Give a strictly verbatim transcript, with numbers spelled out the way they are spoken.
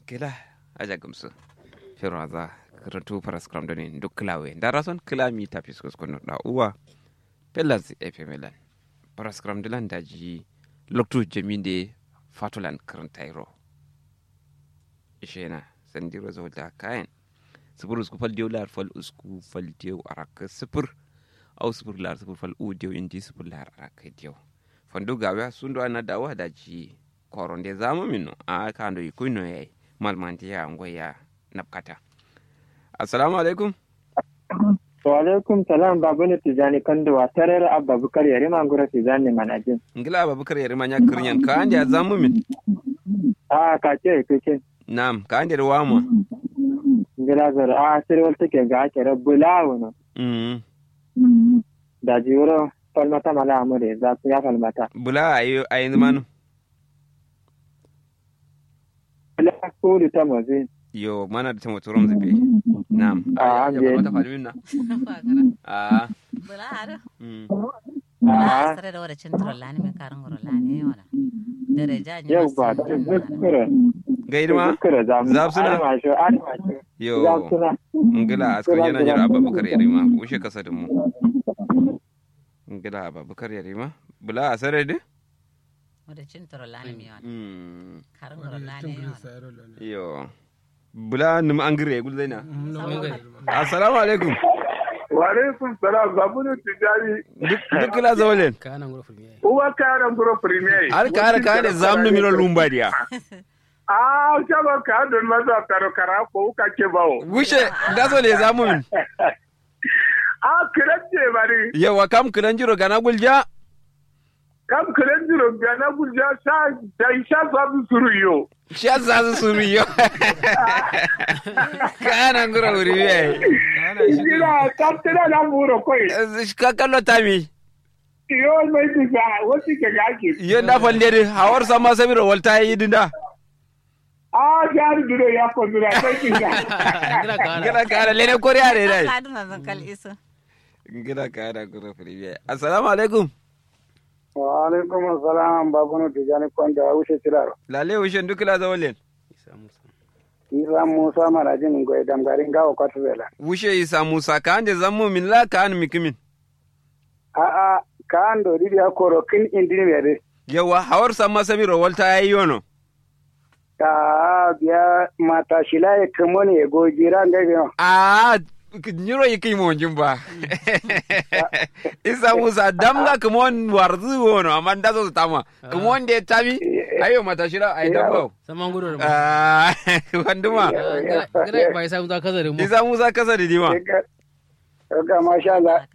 Kǝla aja gǝmsǝ. Fero aza kǝrǝntu faraskǝram done nduk kǝlawe ndarason kǝla mita fiskos kono da uwa. Fellanzǝ fm lan faraskǝram dǝlan daji loktu jaminde fatolan kǝrǝntairo. Ishena sandiro zawalta kayen. Sǝfur usku fal diyau lahar fal usku fal diyau arakkǝ sǝfur. Au sǝfur lahar sǝfur fal u diyau indi sǝfur lahar arakkǝ diyau. Fandu gawiya sundu ana dawa daji. Koronde zamu minno a kando ikuino yayi. Malmante ya ngoya. Napkata. Assalamu alaikum. Wa alaikum salam babunu tijani kanduwa tarera abba bukar yarima nguro tijani manajin. Ngila abba bukar yarima nya kurnyan ka ande zamu min. A ka ce kake. Nam ka ande wama. Ngila zar a sirwal take ga kere bula wono. Mm. Da jiwuro falmata mala amure za su ya falmata. Bula ayi ayi manu. Bula kuru ta mozi. Yo mana da tamo turon zabe. Nam. A ande. Mata falmin na. A. Bula haro. Mm. A sare da wada cin turon lani me karin guro lani wala. Daraja ni. Yau ba da zakkara. Ga idima. Zakkara zam. Zab suna. Almasho almasho. Yo. Zab suna. Ngila askar yana nyar abba bukar yarima ushe kasa da mu. Ngila abba bukar yarima. Bula asare de. Wada cin toro lani mi yawan. Mm. Karin guro lani yawan. Yo. Bula num angire gul zaina. Assalamu alaikum. Wa alaikum salam babunu tijani. Duk duk la zawalen. Kana nguro fulmi yayi. Uwa kana nguro fulmi yayi. Har ka har ka ne zamnu miro lumba diya. A shaba ka don maza karo kara ko ka ke bawo. Gushe da so ne zamu min. A kiran je bari. Yawa kam kiran jiro gana gulja. Kam kiran jiro gana gulja sha sha sha sabu suru yo. Sha sabu suru yo. Kana ngura wuri we. Ina kam tira na muro koi. Ka kallo tami. Yo mai disa wasi ke gaki. Yo nda fande de hawar sama samiro walta yi dinda. A jari duro ya ko dura sai kinga. Ngila kara lene koriya de dai. Ka duna zan kal isu. Ngila kara gura firiye. Assalamu alaikum. Wa alaikum assalam babunu tijani konda ushe tiraro. Lale ushe duk la zawalen. Isa musa. Isa musa marajin ngoy damgarin gawo kwatu bela. Ushe isa musa ka ande zammu min la ka an mikimin. A'a ka ando didiya koro kin indin mede. Yawa hawar samma samiro walta yayi yono. A'a biya mata shila ye kemon ye gogira ngai bino. A'a nyiro yiki monjin ba. Isa musa damga kemon warzu wono amma ndaso tama. Kemon de tami. Ayo mata shila ai damga. Samma ngudo. A'a wanduma. Gira bai isa musa kasa de mu. Isa musa kasa de dima. Ga masha Allah.